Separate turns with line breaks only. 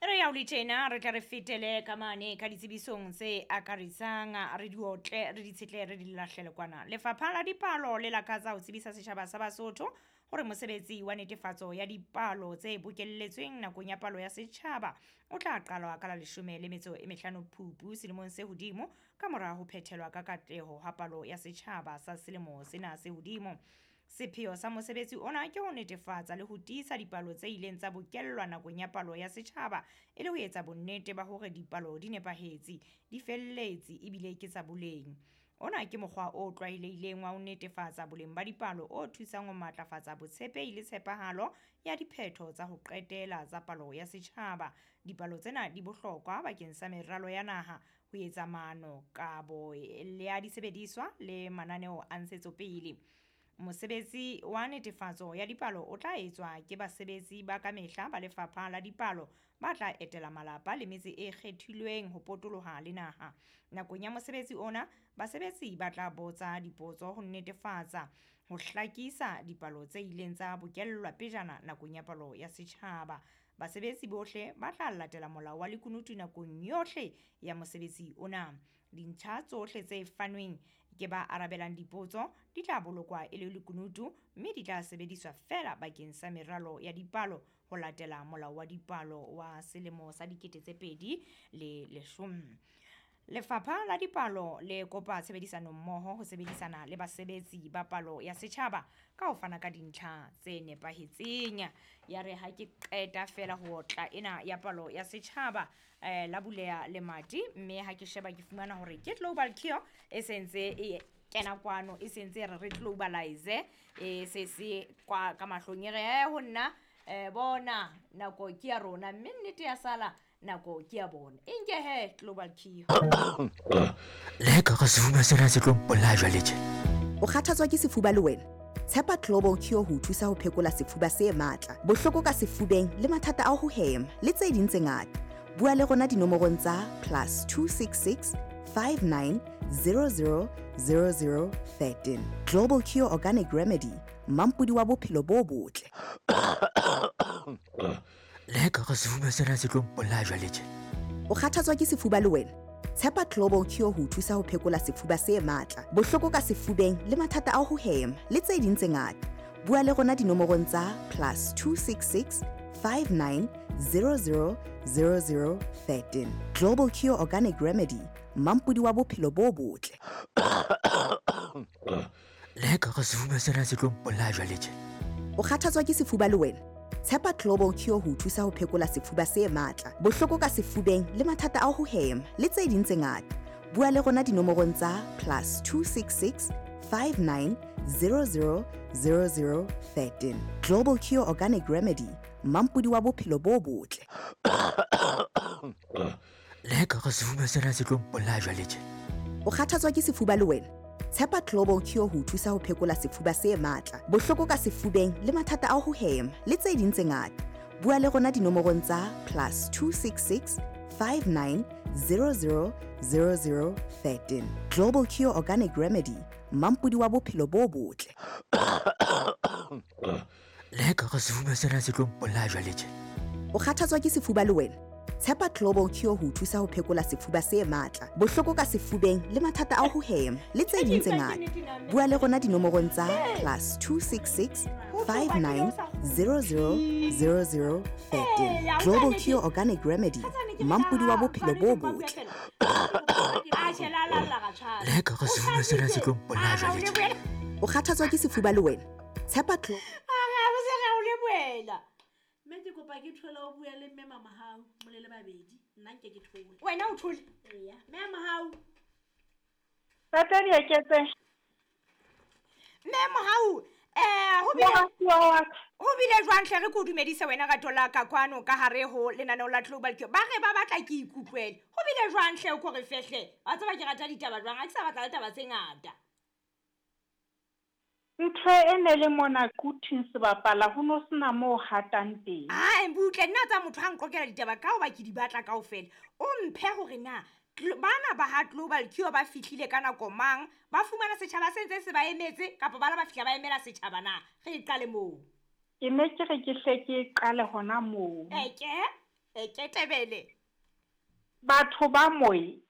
Re ya ho le tjena re tle re fetele ka mane ka ditsebisong tse akaretsang, re di otle, re di tshetle, re di lahlele kwana. Lefapha la Dipalo le lakatsa ho tsebisa setjhaba sa Basotho hore mosebetsi wa netefatso ya dipalo tse bokelletsweng nakong ya palo ya setjhaba o tla qalwa ka la leshome le metso e mehlano Phupu selemong se hodimo, ka mora ho phethelwa ka katleho ha palo ya setjhaba sa selemo sena se hodimo. Sepheo sa mosebetsi ona ke ho netefatsa le ho tiisa dipalo tse ileng tsa bokellwa nakong ya palo ya setjhaba, e le ho etsa bonnete ba hore dipalo di nepahetse, di felletse ebile ke tsa boleng. Ona ke mokgwa o tlwaelehileng wa ho netefatsa boleng ba dipalo o thusang ho matlafatsa botshepehi le tshepahalo ya diphetho tsa ho qetela tsa palo ya setjhaba. Dipalo tsena di bohlokwa bakeng sa meralo ya naha, ho etsa maano, kabo le ya disebediswa le mananeo a ntshetsopele. Mosebetsi wa netefatso ya dipalo o tla etswa ke basebetsi ba kamehla ba Lefapha la Dipalo ba tla etela malapa le metse e kgethilweng ho potoloha le naha. Nakong ya mosebetsi ona, basebetsi ba tla botsa dipotso ho netefatsa ho hlakisa dipalo tse ileng tsa bokellwa pejana nakong ya palo ya setjhaba. Basebetsi bohle ba tla latela molao wa lekunutu nakong yohle ya mosebetsi ona. Dintlha tsohle tse fanweng ke ba arabelang dipotso di tla bolokwa e le lekunutu mme di tla sebediswa feela bakeng sa meralo ya dipalo ho latela molao wa dipalo wa selemo sa 2010. Lefapha la Dipalo le kopa tshebedisano mmoho ho sebedisana le basebetsi ba palo ya setjhaba ka ho fana ka dintlha tse nepahetseng. Ya re ha ke qeta fela ho otla ena ya palo ya setjhaba, la buleha lemati, mme ha ke sheba ke fumana hore ke Global Cure e sentse e kena kwano, e sentse e re re globalize, e se se kwa ka mahlong e re he ho nna, bona nako ke ya rona, mme nnete ya sala nako ke ya bona. E nke he Global Cure.
Le ka re sefuba sena se tlo mpolaya jwale tje.
O kgathatswa ke sefuba le wena? Tshepa Global Cure ho o thusa ho phekola sefuba se matla, bohloko ka sefubeng le mathata a ho hema le tse ding tse ngata. Bua le rona dinomorong tsa +266 59 00 00 13. Global Cure Organic Remedy, mampodi wa bophelo bo botle.
Le ka re sefuba sena se tlo mpolaya jwale tje.
O kgathatswa ke sefuba le wena? Tshepa Global Cure ho o thusa ho phekola sefuba se matla, bohloko ka sefubeng le mathata a ho hema le tse ding tse ngata. Bua le rona dinomorong tsa +266 59 00 00 13. Global Cure Organic Remedy, mampodi wa bophelo bo botle.
Le ka re sefuba sena se tlo mpolaya jwale tje.
O kgathatswa ke sefuba le wena? Tshepa Global Cure ho o thusa ho phekola sefuba se matla, bohloko ka sefubeng le mathata a ho hema le tse ding tse ngata. Bua le rona dinomorong tsa +266 59 00 00 13. Global Cure Organic Remedy, mampodi wa bophelo bo botle.
Le ka re sefuba sena se tlo mpolaya jwale tje.
O kgathatswa ke sefuba le wena? Tshepa Global Cure ho o thusa ho phekola sefuba se matla, bohloko ka sefubeng le mathata a ho hema le tse ding tse ngata. Bua le rona dinomorong tsa +266 59 00 00 13. Global Cure Organic Remedy, mampodi wa bophelo bo botle.
Le ka re sefuba sena se tlo mpolaya jwale tje.
O kgathatswa ke sefuba le wena? Tshepa Global Cure ho o thusa ho phekola sefuba se matla, bohloko ka sefubeng le mathata a ho hema le tse ding tse ngata. Bua le rona dinomorong tsa +266 59 00 00 13. Global Cure Organic Remedy, mampodi wa bophelo bo botle.
Le ka re sefuba sena se tlo mpolaya jwale tje.
O kgathatswa ke sefuba le wena? Tshepa Glo-
Mme ke kopa ke thole o bue le mme Mamahau, mole le babedi. Nna nke ke thole.
Wena o thole?
Eya. Mme Mahau.
Tata Dieketse.
Mme Mohau,
Moratuwa wa ka.
ho bile jwang hle re ke o dumedise wena rato la ka kwano ka hare ho lenaneo la Global Cure. Ba re ba batla ke ikutlwele. Ho bile jwang hle o ko re fehle? Wa tseba ke rata ditaba jwang, ha ke sa batla le taba tse ngata.
Ntho e ne le mona Quthing sebapala ho no sena moo hatang teng.
Ai, butle nna tsa motho ha nqokela ditaba ka hoba ke di batla kaofela. O mphe hore na bana ba ha Global Cure ba fihlile ka nako mang, ba fumana setjhaba se ntse se ba emetse kapa ba la ba fihla ba emela setjhaba na? Re e qale moo.
Ke ne ke re ke hle ke qale hona moo.
Eke? E ketebele.
Batho ba moe.